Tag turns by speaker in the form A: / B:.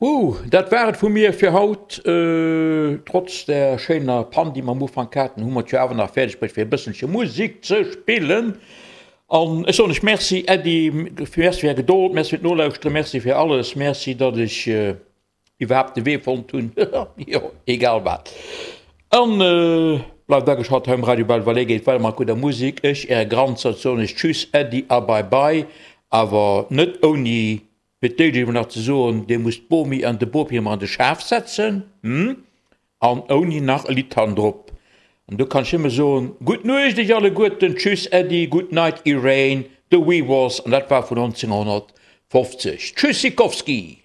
A: Wouh, dat war et vu mir fir haut. Trotz der schéiner Pann, déi mer am Ufank haten, hu mer et jo awer nach fäerdeg bruecht, fir e bësselche Musek ze spillen. An ech soen lech Merci, Äddi, Merci fir Är Gedold, Merci fir d'Nolauschteren, Merci fir alles, Merci, datt ech iwwerhaapt de Wee fonnt hunn, jo, egal wat. An bleift ageschalt hei um Radio Belval, geet weider mat gudder Musek. Ech, Äre Granzert, soen lech Tschüss, Äddi a Bye Bye, awer net ouni Fir d'éischt emol nach ze soen, Dir musst d'Bomi an de Bopi emmer an de Schaf setzen, hm? An ouni nach e Lidd hannendrop. An do kann ech nëmme soen, Gutt Nuecht iech alleguerten, Tschüss Äddi, Good Night Irene, The Wee Was, an dat war vun 1950. Tschüssikowski!